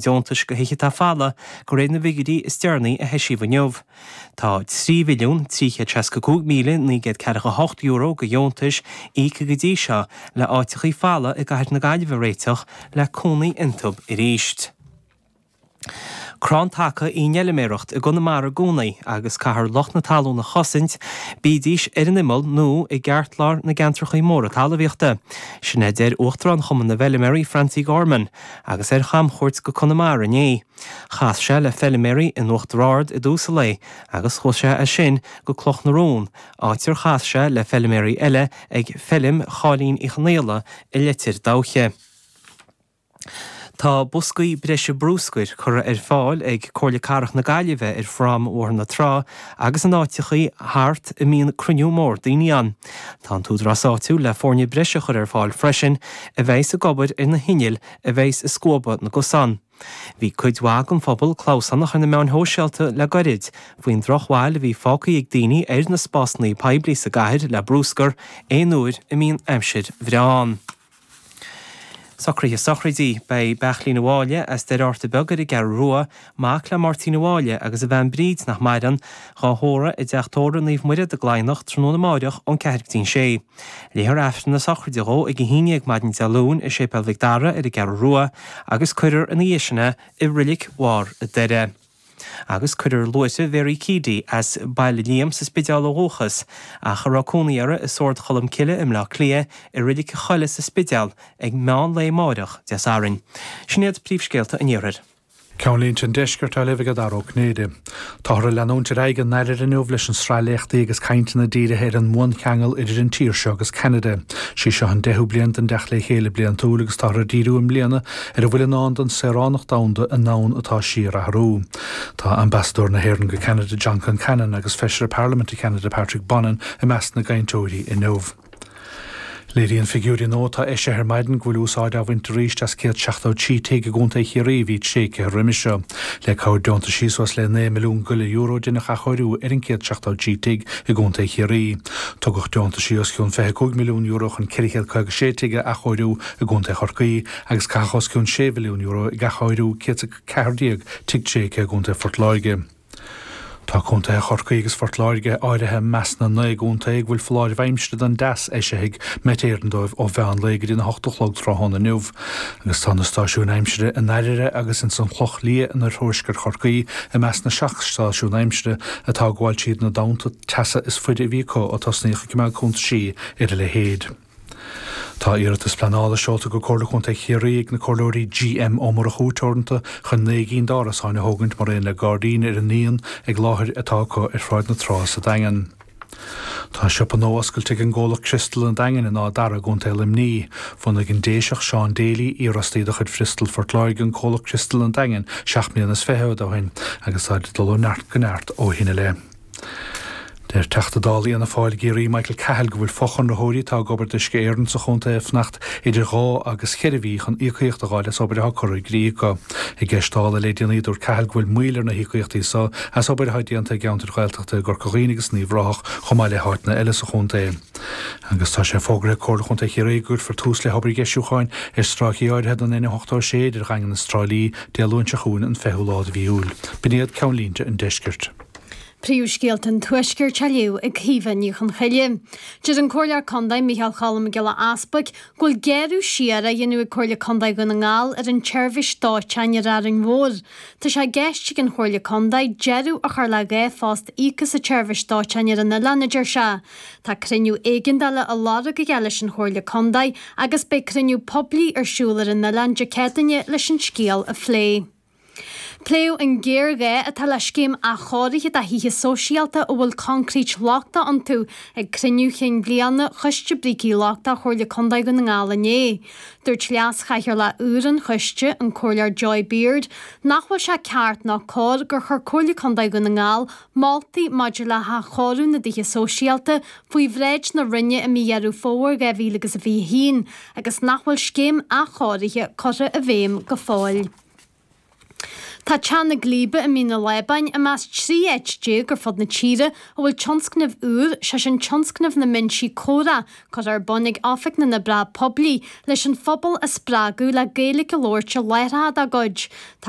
Deontais do Thithe Atá Folamh de réir na bhfigiúirí is deireanaí a heisíodh inniu. Tá €3,365,948 de dheontais íoctha go dtí seo le áiteachaí folamh i gcathair na Gaillimhe a réiteach le cónaí iontub arís. Crann taca í an fheilméaracht i gConamara i gcónaí agus caithfear lucht na talún a chosaint, bídís ar an imeall nó i gceartlár na gceantrachaí móra talmhaíochta. Sin é a deir Uachtarán Chumann na bhFeilméaraí Francie Gorman agus é ar chamchuairt go Conamara inné. Chas sé le feilméaraí in Uachtar Ard i dtús an lae agus chuaigh sé as sin go Cloch na Rón, áit ar chas sé le feilméaraí eile ag feilm Cháilín Uí Chonaola i Leitir Dabhcha. Tá boscaí breise brúscair curtha ar fáil ag Comhairle Cathrach na Gaillimhe ar phrom Bhóthar na Trá agus in áiteachaí thart a mbíonn cruinniú mór daoine ann. Tá an t-údarás áitiúil le foirne breise a chur ar fáil freisin a bheidhs ag obair ar na hinnill a bheidhs ag scuabadh na gcosán. Bhí cuid mhaith den phobal clamhsánach ar na meáin shóisialta le goirid faoin drochbhail a bhí fágtha ag daoine ar na spásanna poiblí sa gcathair le brúscar aon uair a mbíonn aimsir bhreá ann. Socruithe sochraidí. Beidh Beairtlín Ó Mháille as Doire Fhátharta Beag ar an gCeathrú Rua, mac le Máirtín Ó Mháille agus a bhean Bríd nach maireann, dhá thórramh i dTeach Tórraimh Naomh Muire i gCladhnach tráthnóna amáireach ón 4 go dtí'n 6. Léifear Aifreann na sochraide dhó ag 11 maidin Dé Luain i Séipéal Mhic Dara ar an gCeathrú Rua agus cuirfear ina dhiaidh sin é i Roilic Bharr a' Doire. Agus cuirfear luaithreamh Mhary Keady, as Baile Liam sa Spidéal ó dhúchas, ach a raibh cónaí uirthi i Sord Cholm Cille i mBleá Cliath, i Roilic a Choille sa Spidéal ag meán lae amáireach, Dé Sathairn. Sin iad príomhscéalta an Iarthair. Ceannlínte an Deiscirt á léamh ag Dara Ó Cinnéide. Táthar ag leanúint ar aghaidh i nDaire inniu leis an sraith léachtaí agus cainteanna dírithe ar an mbuancheangal idir an tír seo agus Ceanada. Sí seo an deichiú bliain den dteacht le chéile bliantúil agus táthar ag díriú i mbliana ar a bhfuil i ndán don saoránacht domhanda i ndomhan atá ag síorathrú. Tá Ambasadóir na hÉireann go Ceanada John Concannon agus Feisire Parlaiminte Cheanada Patrick Bonin i measc na gcainteoirí inniu. Léiríonn figiúirí nua atá eisithe ar maidin go bhfuil úsáid á bhaint arís as 173 tigh i gContae Chiarraí a bhí tréigthe roimhe seo. Le cabhair deontaisí suas le €9 milliún go leith deineadh athchóiriú ar an 173 tigh i gContae Chiarraí. Tugadh deontaisí os cionn €25 milliún chun 456 tigh a athchóiriú i gContae Chorcaí agus caitheadh os cionn €6 mhilliún ag athchóiriú 114 tigh tréigthe i gContae Phort Láirge. Tá contaetha Chorcaí agus Phort Láirge áirithe i measc na 9 gcontae ag bhfuil foláireamh aimsire don dteas eisithe ag Met Éireann dóibh ó mheán lae go dtí na hocht a chlog tráthnóna inniu. Agus tá na stáisiúin aimsire i nDaire agus ins an Chloch Liath in oirthuaisceart Chorcaí i measc na 7 stáisiún aimsire atá ag gabháil tríd na damanta teasa is faide a bhí acu ó tosnaíodh ag coimeád cuntaisí ar a leithéid. Tá iarratas pleanála seolta go Comhairle Contae Chiarraí ag na Comhairleoirí G.M. Ó Murchú Teoranta chun 9 gcinn d'árasáin a thógaint mar aon le gairdín ar an ndíon ag láthair atá acu ar Shráid na Trá sa Daingean. Tá siopa nua oscailte ag an gcomhlacht Crystal an Daingin in Áth Dara i gContae Luimní. Bhunaigh an Déiseach Seán Daly, iarfhostaí de chuid Bhristol Phort Láirge an comhlacht Crystal an Daingin 27 mbliana ó shin agus táid ag dul ó neart go neart ó shin i leith. Deir Teachta Dála Fhianna Fáil i gCiarraí Michael Cahill go bhfuil fochonraitheoirí atá ag obair d'Uisce Éireann sa chontae ag fanacht idir dhá agus cheithre mhí chun íocaíocht a dh'fháil as obair atá curtha i gcrích acu. I gceist Dála le déanaí dúirt Cahill go bhfuil moill ar na híocaíochtaí so as obair atá déanta i gceantair Ghaeltachta i gCorca Dhuibhne agus in Uíbh Ráthach chomh maith le háiteanna eile sa chontae. Agus tá sé fógraithe ag Comhairle Chontae Chiarraí go gcuirfear tús le hobair dheisiúcháin ar stráicí áirithe den N86 idir Dhaingean is Trá Lí Dé Luain seo chugainn an 20ú lá de mhí Iúil. B'in iad ceannlínte an deiscirt. Príomhscéalta an Tuaiscirt á léamh ag Caoimhe Ní Chonchoille. Deir an Comhairleoir Contae Micheál Cholm Mac Giolla Easbuic go bhfuil géarú siar á dhéanamh ag Comhairle Contae Dhún na nGall ar an tseirbhís dóiteáin ar Árainn Mhór. Tá sé i gceist ag an Chomhairle Contae deireadh a chur le 2 phost íoctha sa tseirbhís dóiteáin ar an oileán, a deir sé. Tá cruinniú éigeandála á lorg aige leis an Chomhairle Contae agus beidh cruinniú poiblí ar siúl ar an oileán Dé Céadaoine leis an scéal a phlé. Pléadh an géarghá atá le scéim athchóirithe do thithe sóisialta a bhfuil coincréit lochtach iontu ag cruinniú chinn bhliana Choiste Brící Lochtacha Chomhairle Contae Dhún na nGall inné. Dúirt Leas-Chathaoirleach úr an choiste, an Comhairleoir Joy Beard, nach bhfuil sé ceart ná cóir gur chuir Comhairle Contae Dhún na nGall moltaí maidir le hathchóiriú na dtithe sóisialta faoi bhráid na Roinne i mí Dheireadh Fómhair 2021 agus nach bhfuil scéim athchóirithe curtha i bhfeidhm go fóill. Tá Teach na Glíbe i Mín na Lábáin i measc 13 áit ar fud na tíre a bhfuil tionscnamh úr, sé sin tionscnamh na mbinsí comhrá, curtha ar bun ag Oifig na nOibreacha Poiblí leis an phobal a spreagadh le Gaeilge a labhairt i láithreacha dá gcuid. Tá.